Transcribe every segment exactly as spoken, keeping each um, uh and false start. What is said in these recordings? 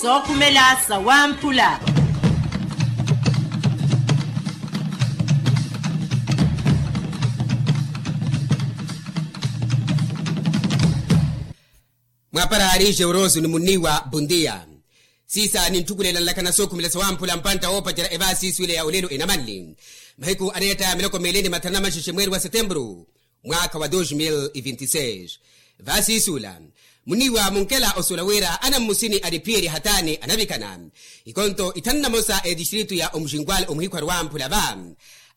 Sookhumela sawamphula. Mwapara ari jeuroso ni munniwa bondia. Siisa ninttukulela nlakana sookhumela sawamphula mpantta woopacerya evaasiisu ila ya olelo enamanli mahiku aneetta miloko miili ni mathanu na maxexe mweeri wa setempuru mwaakha wa dos mil e vinti seis. Vaasiisula muniiwa munkela osuula wira anammusini aniphiyerya hataani anavikana ikonto ithanu na mosa etistritu ya omuxinkwal omuhikhwari wamphula va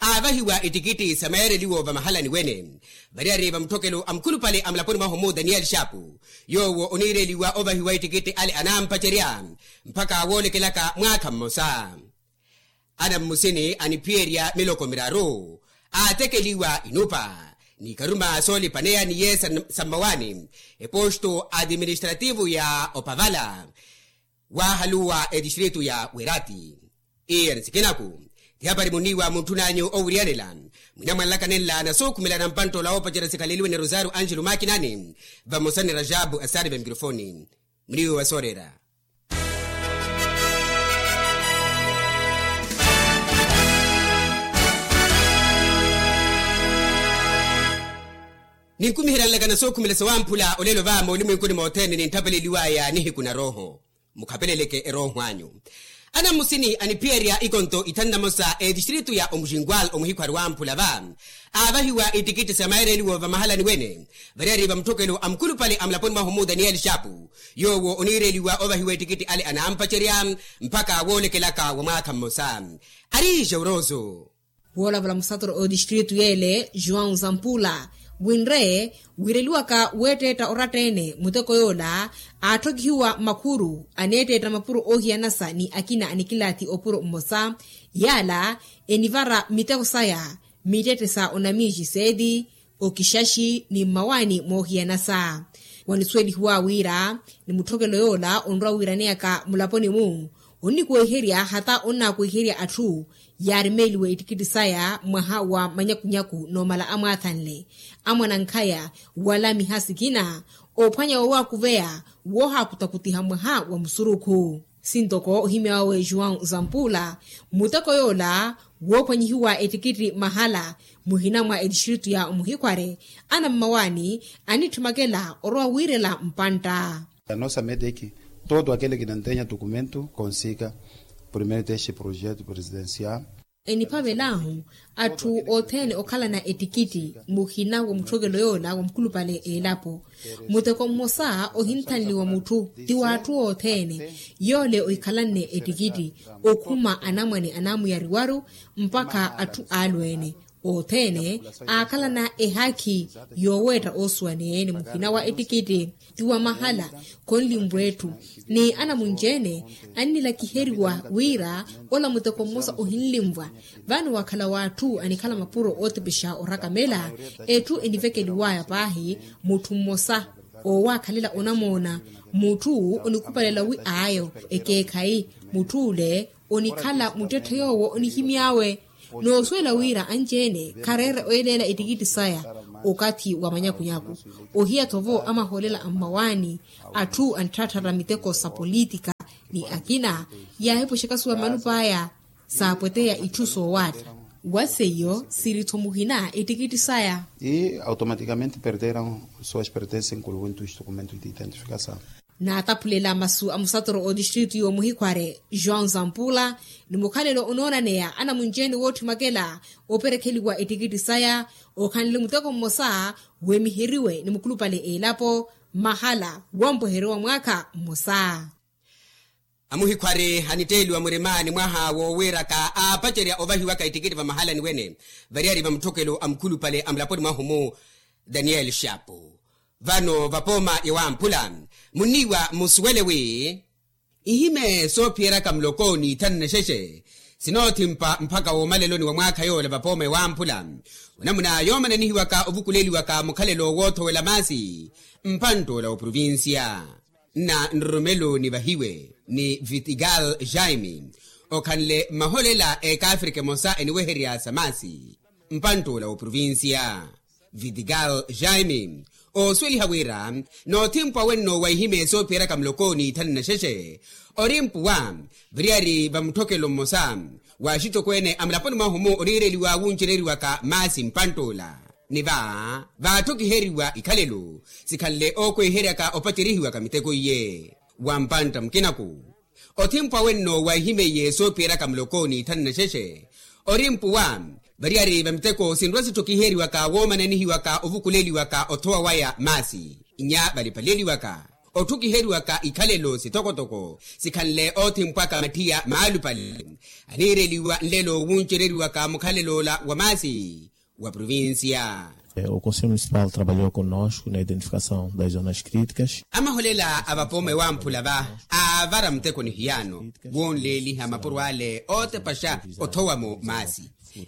aavahiwa itikitti sa meereliwo vamahalani wene. Variyari vamutthokelo a mukhulupale a mulaponi mwahu mu daniyeli xapu yoowo oniireliwa ovahiwa itikitti ale anampacerya mpakha woolekelaka mwaakha mmosa. Anammusini aniphiyerya miloko miraru aatekeliwa inupa ni karuma soolipaneya ni yeesa sa mmawaani eposto administrativu ya opavala waahaluwa etistritu ya werati. Iye ni sikinaku ti hapari muniiwa muntthunanyu owiriyanela mwinamwanlaka nenla na sookhumela na mpanttoola woopacerya sikhaleliwe ni rosario angelo makinani vamosa ni rajabu asari va mikirofoni. Muniiwa wa soorera. Ninkumiherya nlakana sookhumela sawamphula olelo va moolimwenkuni mothene ninttapeleliwaya nihiku na rooho mukhapeleleke erooho anyu. Anammusini aniphiyerya ikonto ithanu na mosa etistritu ya omuxinkwal omuhikhwari wamphula va aavahiwa itikitti sa maereliwo vamahalani wene. Variyari vamutthokelo a mukhulupale a mulaponi mwahu mu daniyeli xapu yoowo oniireliwa ovahiwa etikitti ale anampacerya mpakha woolekelaka wa mwaakha mmosa. Ari jeuroso. Woolavula musatoro otistritu yeele joão zampula winre wiireliwaka weetteetta oratta-ene muteko yoola aatthokihiwa makhuru aneetteetta mapuro oohiyanasa ni akina anikilaathi opuro mmosa yaala enivara miteko saya mittette sa onamiixi seeti okixaxi ni mmawaani moohiyanasa. Wanisuwelihiwa wira ni mutthokelo yoola onrwa wiiraneyaka mulaponi-mu onnikweherya hata onnakweherya atthu yaarimeliwe ettikitti saya mwaha wa manyakunyaku noomala amwaathanle amwanankhaya wala miha sikina oophwanya woowakuveya woohaakutakutiha mwaha wa musurukhu. Sintoko ohimya wawe joão zampula muteko yoola woophwanyihiwa ettikitti mahala muhina mwa ettistritu ya omuhikhware anammawaani anitthmakela orowa wiirela mpantta. A nossa meta é que todo aquele que não tenha documento consiga primeiro deste projeto presidencial. Eniphavel'ahu atthu othene okhalana ettikitti muhina wa mutthokelo yoola wa mukhulupale elapo muteko mmosa ohinthanliwa mutthu ti w'atthu othene yoole ohikhalanne ettikitti okhuma anamwane anamuyariwaru mpakha atthu alweene othene aakhalana ehaakhi yooweetta oosuwaneene muhina wa ettikitti ti wa mahala khonlinvwa etthu ni anamunci-ene annilakiheriwa wira ola muteko mmosa ohinlinvwa vano wakhala w'atthu anikhala mapuro ootepexa orakamela etthu enivekeliwaya paahi mutthu mmosa oowakhalela onamoona mutthu onikhupalela wi aayo ekeekhayi mutthu ole onikhala muttetthe yoowo onihimy'awe noosuwela wira anci-ene khareere oyeleela ettikitti saya okathi wa manyakunyaku ohiya-tho vo amahoolela a mmawaani atthu anitthaatthatta miteko sa politika ni akina yaahipuxaka suwa mmalupa aya saapweteya itthu soowaatta wa seiyo siri-tho muhina ettikitti saya. E automaticamente perderam suas pertences incluindo os documentos de identificação. Naataphulela masu a musatoro otistritu y'omuhikhware joão zampula ni mukhalelo onoonaneya anamunci-ene wootthimwakela operekheliwa ettikitti saya okhanle muteko mmosa weemiheriwe ni mukhulupale elapo mahala wompweheriwa mwaakha mmosa. Amuhikhwari anitteeliwa murima ni mwaha woowiiraka aapacerya ovahiwaka ettikitti vamahalani wene variyari vamutthokelo a mukhulupale a mulaponi mwahu mu daniyeli xapu. Vano vapooma ya wamphula munniiwa musuwele wi ihime soophiyeraka muloko n'ithanu na xexe sinoothimpa mphaka woomaleloni wa mwaakha yoola vapooma ya wamphula onamuna yoomana nihiwaka ovukuleliwaka mukhalelo woothowela maasi mpantt'ola wa provincia. Nna nroromelo nivahiwe ni vitigal jaime okhanle mmaholela ekaafrika emosa eniweherya sa maasi mpantt'ola wa provincia. Vitigal jaime Oosuweliha wira noothimpu awenno wa ihimeye soophiyeraka muloko n'ithanu na xexe, ori mpuwa variyari va mutthokelo mmosa wa axitokweene a mulaponi mwahu-mu oniireliwa wuncereriwaka maasi mpantt'ola. Ni va vaattho kiheriwa ikhalelo sikhanle ookweheryaka opacerihiwaka miteko iye. Wa mpantta mukinaku othimpu awenno wa ihimeye soophiyeraka muloko n'ithanu na xexe, ori mpuwa variyari va miteko sinrwa sitthokiheriwaka woomananihiwaka ovukuleliwaka othowa waya maasi. Nnya valipaleliwaka otthukiheriwaka ikhalelo sitokotoko sikhanle oothimpwaka mathiya maalupale aniireliwa nlelo wuncereriwaka mukhalelo ola wa maasi wa provincia. O conselho municipal trabalhou connosco na identificação das zonas críticas. Amaholela a vapoome wamphula va aavara muteko ni hiyaano wonleeliha mapuro ale ootepaxa othowamo maasi.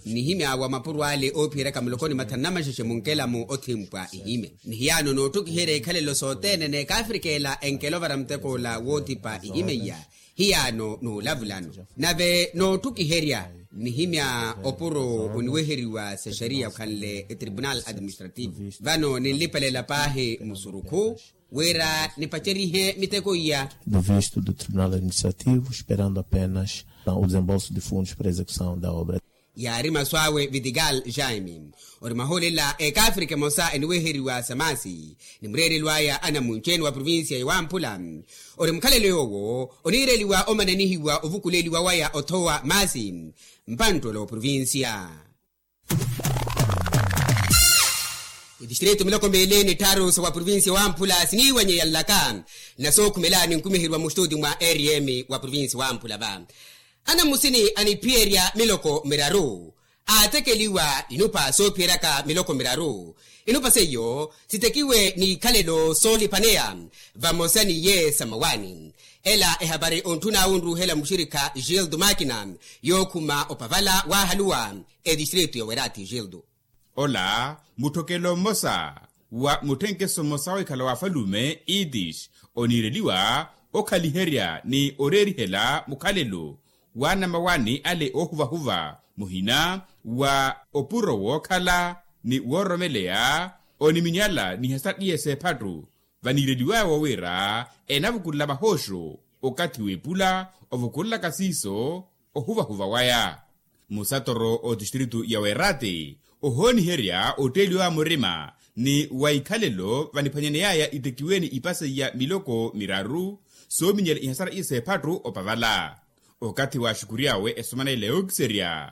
Nihimya wa mapuro ale oophiyeryaka muloko ni mathanu na maxexe munkelamu othimpwa ihimye ni hiyaano nootthukiherya ikhalelo sothene n'ekaafrika ela enkela ovara muteko ola woothipa ihimye iya. Hiyaano n'ulavulano nave nootthukiherya nihimya opuro oniweheriwa sexariya okhanle etribunal administrativo. Vano ninlipelela paahi musurukhu wira nipacerihe miteko iya. Do visto do tribunal administrativo esperando apenas o desembolso de fundos para execução da obra. Yaari masu awe vitigal jaime ori maholela ekaafrika emosa eniweheriwa sa maasi ni mureerelo aya anamunci-ene wa provincia ya wamphula. Ori mukhalelo yoowo oniireliwa omananihiwa ovukuleliwa waya othowa maasi mpanttolo wa provincia. Itistrito miloko meeli ni tthaaru sa wa provincia wamphula siniiwanyeya nlaka na sookhumela ninkumiheriwa muxtuti mwa rm wa provincia wamphula va anamusini aniphiyerya miloko miraru aatekeliwa inupa soophiyeryaka miloko miraru. Inupa seiyo sitekiwe n'ikhalelo soolipaneya vamosa n'iye samawani. Ela ehapari ontthuna wunruuhela muxirikha gildo makina yookhuma opavala waahaluwa etistrito ya werati gildo. Ola mutthokelo mmosa wa mutthenkeso mmosa wikhala wa afalume itis oniireliwa okhaliherya ni oreerihela mukhalelo wa anamawani ale oohuvahuva muhina wa opuro wookhala ni wooromeleya oniminyala ni hasattiye seephattu. Vaniireliwaya wowira enavukulela vahooxo okathi w'epula ovukulelaka siiso ohuvahuva waya. Musatoro otistritu ya werate ohooniherya otteeliwa wa murima ni wa ikhalelo vaniphwanyaneyaya itekiweni ipa seiya miloko miraru soominyela ihasara iseephattu opavala. Okathi waaxukuryawe esomanela yookiserya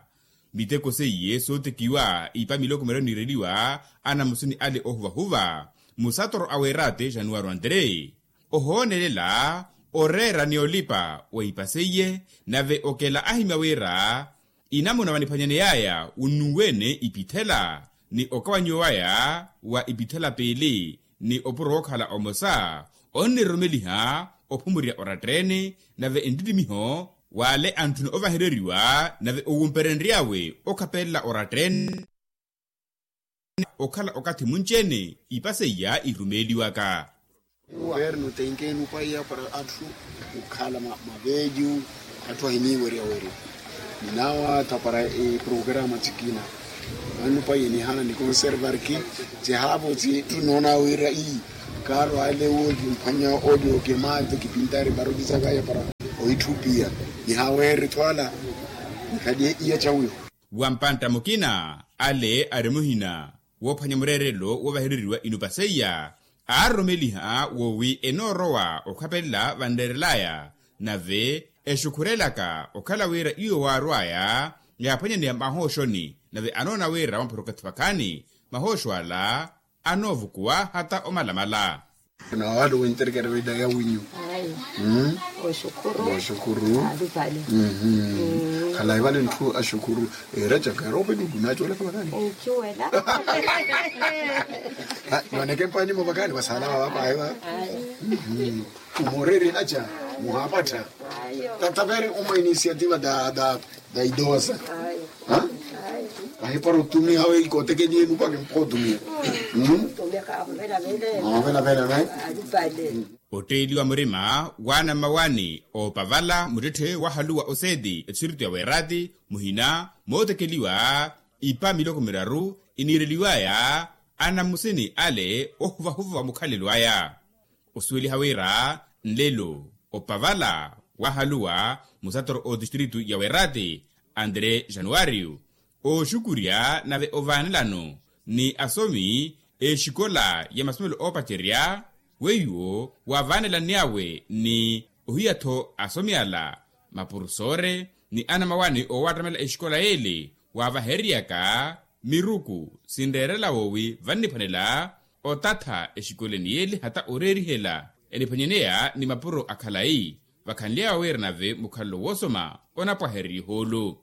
miteko seiye sootekiwa ipa miloko miraru niireliwa anamusini ale ohuvahuva musatoro a werate januwaro andre ohoonelela oreera ni olipa wa ipa seiye. Nave okela ahimya wira inamuna vaniphwanyaneyaya wunnuwene ipithela ni okawanyiwa waya wa ipithela piili ni opuro wookhala omosa onnirumeliha ophumurya oratteni nave enttittimiho w'ale antthuna ovahereriwa nave owumperenry'awe okhapelela oratteni okhala okathi munci-ene ipa seiya irumeeliwaka. Guvernu tenke enupaiya para atthu okhala maveyu atthu ahiniiwerya werya ninawa tha para eprograma thikina. Enupaiya nihana nikonservarki cihaavo ci ttunoona wira ii kaaro ale wooki mphwanya olyo kemate kipintari para ocisakaya para oitthupiya nihaweeri thwala nikhaliye iya cawiho. Wa mpantta mukina ale ari muhina woophwanya mureerelo woovahereriwa inupa seiya aaroromeliha woowi enoorowa okhapelela vanreerelaya nave exukhurelaka okhala wira iwo waarwaya yaaphwanyaneya mahooxoni nave anoona wira wamphura okathi vakhaani mahooxo ala anoovukuwa hata omalamala. Nawalo winterkere weda ya winyu. Oxukuru. Oxukuru. Khalayi vale ntthu axukuru. Era caka era opeluku nacoolaka vakani. Noneke mpanimo vakani vasala vavapaeva. Umoreri naca muhapattha. Tatavere uma inisiativa da da da idosa. Ahipara otumiha we ikotekeni enu pake mpha otumiha. Otteliwa murima waanamawani oopavala muttetthe wahaluwa oseeti etisirito ya weerati muhina mootekeliwa ipa miloko miraru iniireliwaya Anammusini ale ohuvahuva wa mukhalelo aya osuweliha wira nlelo opavala wahaluwa musatoro otistritu ya werati andre januwario oxukurya nave ovaanelano ni asomi exikola ya masomelo oopacerya weiwo waavaanelaniyawe ni ohiya-tho asomi ala mapurusore ni anamawani oowattamela exikola yeele waavahereryaka miruku sinreerela woowi vanniphwanela otatha exikoleni yeele hata oreerihela eniphwanyaneya ni mapuro a khalayi vakhanly'awe wira nave mukhalelo woosoma onapwahererya ihoolo.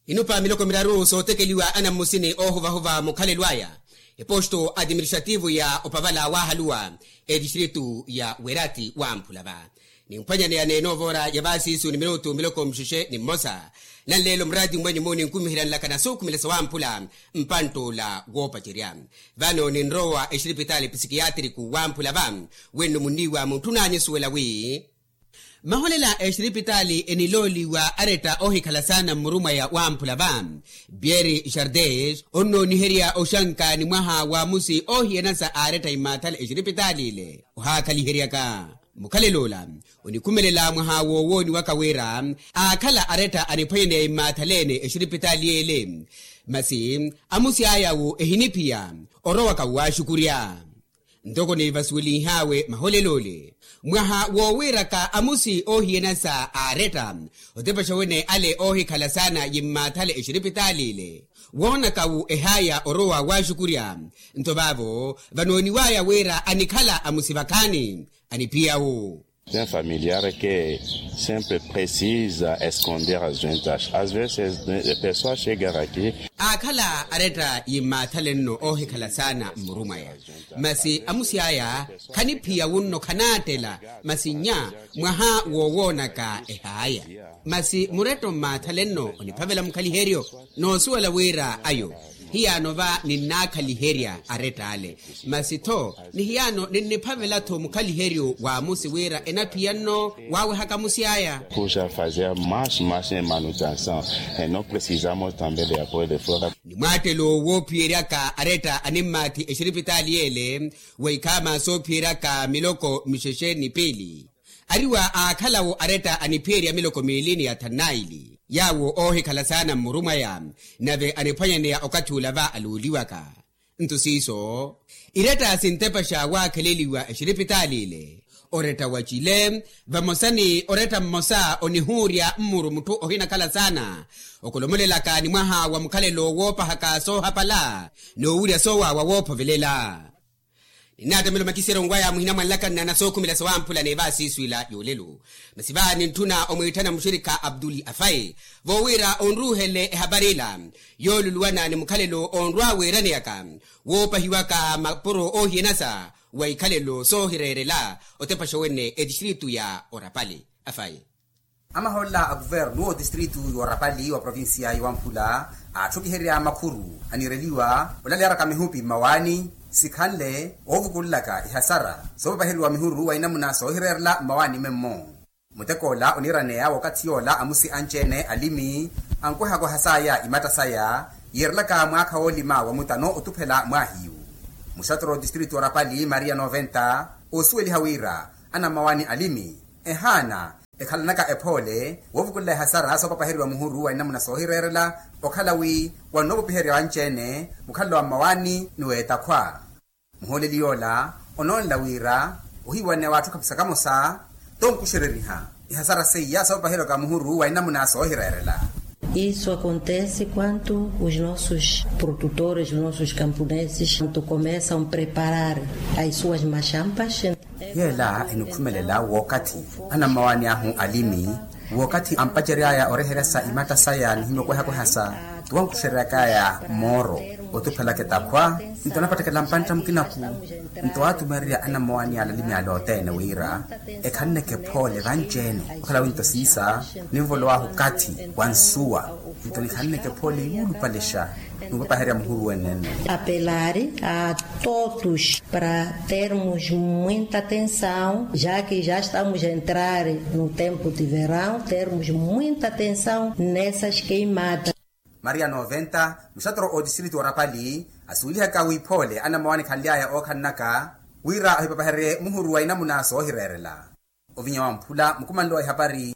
Inupa miloko miraru sootekeliwa anammusini oohuvahuva mukhalelo aya eposto administrativo ya opavala waahaluwa etistritu ya werati wamphula va nimphwanyaneya neenoovora ya vaasiisu ni minutu miloko mixexe ni mmosa. Nanleelo muraati mwenyu muninkumiheryanlaka na suukhumela sawamphula mpantt'ula woopacerya vano ninrowa exiripitaali psikiyatriku wamphula va wenno munniiwa muntthun'anyu osuwela wi maholela exiripitaali enilooliwa aretta oohikhala saana mmurumweya wamphula va pieri xardes onnooniherya oxanka ni mwaha wa amusi oohiyana sa aaretta immaathale exiripitaali ile ohaakhaliheryaka mukhalel'ola onikhumelela mwaha woowooniwaka wira aakhala aretta aniphwanyaneya immaathaleene exiripitaali yeele masi amusi aya'wo ehiniphiya orowaka waaxukurya ntoko nivasuwelinh'awe maholel'ole mwaha woowiiraka amusi oohiyana sa aaretta otepaxa wene ale oohikhala saana yimmaathale exiripitaali ile woonaka-wo ehaaya orowa waaxukurya nto vaavo vanooniw'aya wira anikhala amusi vakhaani aniphiya-wo. Tem familiar ke sempre precisa esconder as duentas as vezes pessoa chega aqui aakhala aretta yimmaathale nno oohikhala saana mmurumwaya masi amusi aya khaniphiya wunno khanaattela masi nnya mwaha woowoonaka ehaaya masi muretta ommaathale nno oniphavela mukhaliheryo noosuwela wira ayo hiyaano va ninnaakhaliherya aretta ale masi-tho ni hiyaano ninniphavela-tho mukhaliheryo wa amusi wira enaphiya nno waawehaka amusi aya kuxa fazer mais mais manutenção e no precisamos também de apoio de fora ni mwaattelo woophiyeryaka aretta animmaathi exiripitaali yeele wa ikhaama soophiyeryaka miloko mixexe ni piili ariwa aakhalawo aretta aniphiyerya miloko miili ni yathanu naili yaawo oohikhala saana mmurumwaya nave aniphwanyaneya okathi ula va aluuliwaka nto siiso iretta sintepaxa waakheleliwa exiripitaali ile oretta wacile vamosa ni oretta mmosa onihuurya mmuru mutthu ohinakhala saana okolomolelaka ni mwaha wa mukhalelo woopahaka soohapala n'uwirya soowaawa woophovelela ninnaattamela omakiseryo nkwaya muhina mwanlakanna na sookhumela sawamphula n'evaasiisu ila yoolelo masi va nintthuna omwiitthana muxirikha abduli afayi voowiira onruuhele ehapari ila yooluluwana ni mukhalelo onrwa wiiraneyaka woopahiwaka mapuro oohiyanasa wa ikhalelo soohireerela otepaxa wene etistritu ya orapali afayi amaholela a kuvernu otistritu y'orapali wa provincia ya wamphula aatthukiherya makhuru anireliwa olaleyaraka mihupi mmawaani sikhanle oovukulelaka ihasara soopapaheriwa mihuru wa inamuna soohireerela mmawaani memmo mutek'ola oniiraneya w'okathi yoola amusi anci-ene alimi ankwehaka ohasaya imatta saya yiirelaka mwaakha woolima wa mutano otuphela mwaahiyu muxatoro otistritu orapali maria noventa oosuweliha wira anammawaani alimi ehaana ekhalanaka ephoole woovukulela ehasara soopapaheriwa muhuru wa inamuna soohireerela okhala wi wannoopopiherya anci-ene mukhalelo wa mmawaani ni w'etakhwa muhooleli yoola onoonela wira ohiiwaneya w'atthu khapusa kamosa tonkuxereriha ihasara seiya soopapaheriwaka muhuru wa inamuna soohireerela isso acontece quanto os nossos produtores os nossos camponeses quanto começam a preparar as suas machapas yeela enikhumelela wookathi anammawaani ahu alimi wookathi ampacery'aya oreheryasa imatta saya nihimya okwehakwehasa tuwankuxeryak'aya mooro otuphelaka etakhwa nto anapattekela mpantta mukinaku nto atumererya anammawaani ala alimi ala othene wira ekhalneke phoole vanci-ene okhala winto siisa ninvolow'ahu okathi wa nsuwa nto nikhalneke phoole iwulupalexa n'upapaherya muhuru wene nno apelar a todos para termos muita atenção já que já estamos a entrar no tempo de verão termos muita atenção nessas queimadas maria noventa muxatoro otistritu orapali Asuwelihaka wiphoole anammowa anikhanly'aya ookhalelaka wira ahipapahererye muhuru wa inamuna soohireerela. Ovinya wamphula mukumanlo wa ihapari.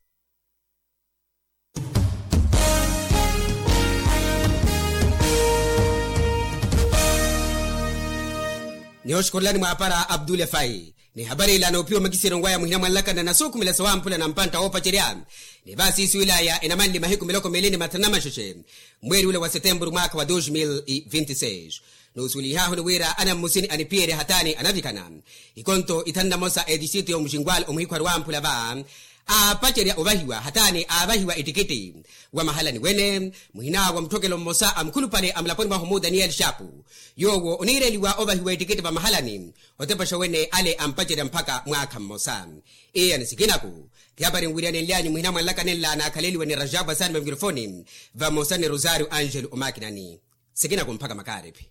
Nihooxukhurelani mwaapara abdule fayi. Ni hapari ila noopiwa makisiro nwaya muhina mwanlakana na suukhumela sawamphula na mpantta woopacerya. Ni vaasiisiwilaya enamanli mahiku miloko miili ni mathanu na maxexe, mweeri ula wa setempuru mwaakha wa dos mil e vinti seis. Nuusuwelihahu ni wira anammusini aniphiyerya hatani anavikana ikonto ithanu na mosa etixitu y'omuxinkwali omuhikhwari wamphula va aapacerya ovahiwa hatani aavahiwa ettikitti. Wa mahalani wene muhina wa mutthokelo mmosa a mukhulupale a mulaponi mwahu mu daniyeli xapu, yoowo oniireliwa ovahiwa ettikitti va mahalani otepexa wene ale ampacerya mpakha mwaakha mmosa. Iya ni sikinaku. Ti hapari nwiriyanenlyanyu muhina mwanlakanenla naakhaleliwa ni rajabu asani va mikirofoni vamosa ni rosario angelo omakinani. Sikinaku mpakha makaariphi.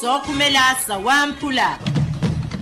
Sookhumela sawamphula.